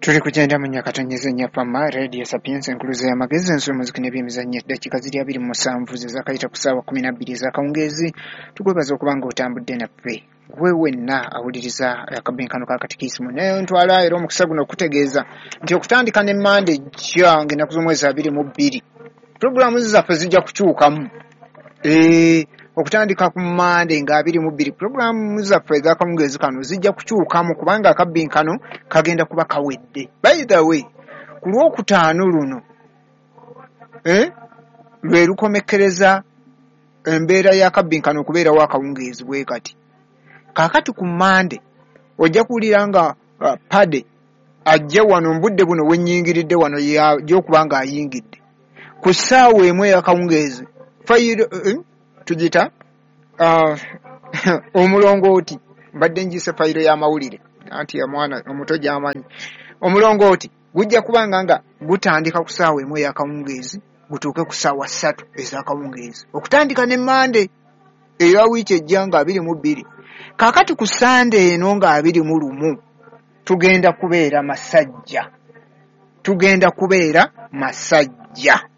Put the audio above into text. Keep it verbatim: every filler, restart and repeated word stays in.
Tuli kugenda mu nyakatonyeze nyafama Radio Sapiens, enkuluze y'amagezi, ensi, omuziki n'ebyemizannyo. Eddakiika ziri abiri mu musanvu ze zaakayita ku ssaawa kumi na bbiri ez'akawungeezi. Tukwebaza okuba nga otambudde naffe, gwe wenna awuliriza akabinkano ka katikisimu. Naye ntwala era omukisa guno okutegeeza nti okutandika ne Mande ejja, ng'ennaku z'omwezi abiri mu bbiri, puroguramu zaffe zijja kukyukamu. Eh, okutandika ku Mande nga abiri mu bbiri, puroguramu zaffe ez'akawungeezi kano zijja kukyukamu, kubanga akabbinkano kagenda kuba kawedde. By the way, ku Lwokutaano luno eh, lwe lukomekkereza embeera y'akabbinkano okubeerawo akawungeezi bwe kati. Kaakati ku Mande ojja kuwulira nga uh, pade ajja wano mu budde buno wennyingiridde wano, yajja okuba ng'ayingidde ku ssaawa emu ey'akawungeezi. Fayiro eh, tugita uh, omulongooti, mbadde njise fayiro y'amawulire, anti omwana omuto gy'amanyi. Omulongooti gujja kubanga nga gutandika ku ssaawa emu ey'akawungeezi, gutuuke ku ssaawa ssatu ez'akawungeezi, okutandika ne Mande eya wiiki ejja nga abiri mu bbiri. Kaakati ku Sande eno nga abiri mu lumu tugenda kubeera Masajja, tugenda kubeera Masajja.